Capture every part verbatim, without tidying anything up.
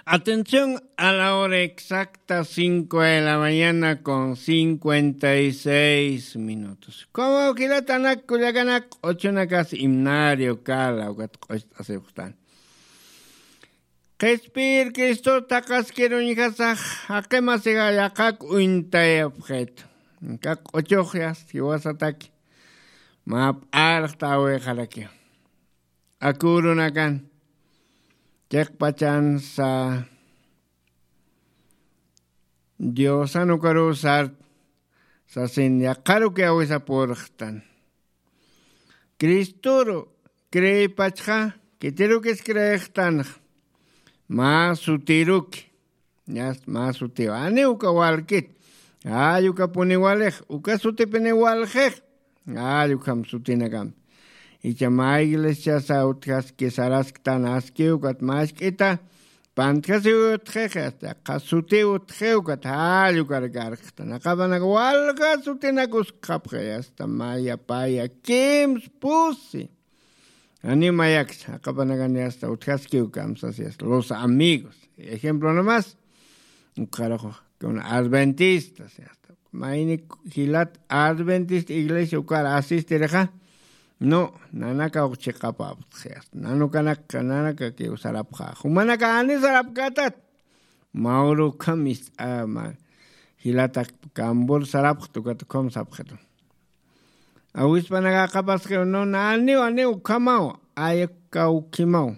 Atención, a la hora exacta, cinco de la mañana con cincuenta y seis minutos. Como jilatanak kullakanak, q'uchunakas himnario kala, ukat q'ucht'asiwxtan. Qhispiyir Cristo taqaskiruñjasax, jaqimasixa yaqak uñtayapxit. Kaq q'uchux yast jiwasataki. Mä p'arxta awixaraki. Akurunakan chiqpachansa Diosan ukaruw sart sasin yaqaruki awisapurxtan. Cristoru creepachxa, khitirukis creextanxa. Mä sutiruki. Yast mä sutiw. Ani uka walkit. Ay ukapuni walix. Uka sutipini walxix. Ay ukham sutinakampi. Icha mä iglesiasa utjaski sarasktan askiw ukat mä ask'ita pantjasiw utxixi, asta qha sutiw utxiw ukat jall ukar karkxtan. Aqapanak walja sutinak uskxapxi, asta maya paya kims pusi. Animayaks, aqapanakan yasta utjaskiw kamsas yasta. Los amigos. Ejemplo nomás. Ukxarux, con adventistas, yasta. Mayni jilat adventista iglesia ukar asistirixa. No, nanaka uqchiqapapxi, yasta. Nanukanaka, nanaka kiw sarapxa. Jumanaka ani sarapkatat. Mauru ukham ist'a, ma, jilatak kambur sarapxta ukat ukham sapxitu. Awispanaka aqapasxiw, no, naniw, aniw ukhamaw, ayakawkimaw.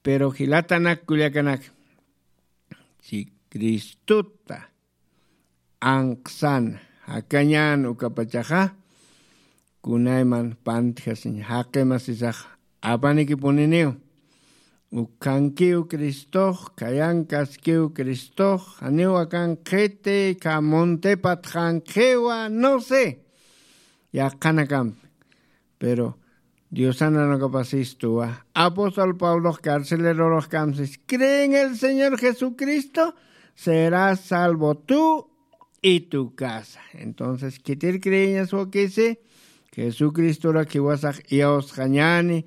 Pero jilatanak kullakanak, si Cristota anqsan jakañän ukapachaxa, kunayman pantjasiñ jaqimasisax apanikipuniniw. Ukhankiw Cristox, khayankaskiw Cristox, janiw akan qhiti, kha muntipat jankiwa, no sé. Yaqhanakampi. Pero Diosan nanakapasistuwa. Apóstol Pablox carcelerorux kamsis, "Cree en el Señor Jesucristo, serás salvo tú y tu casa." Entonces, khitir creeñas wakisi, Jesucristorak jiwasax iyawsxañäni,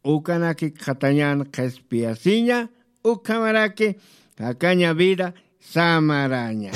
ukanakik qhatañän qhispiyasiña, ukhamaraki jakaña vida samaraña.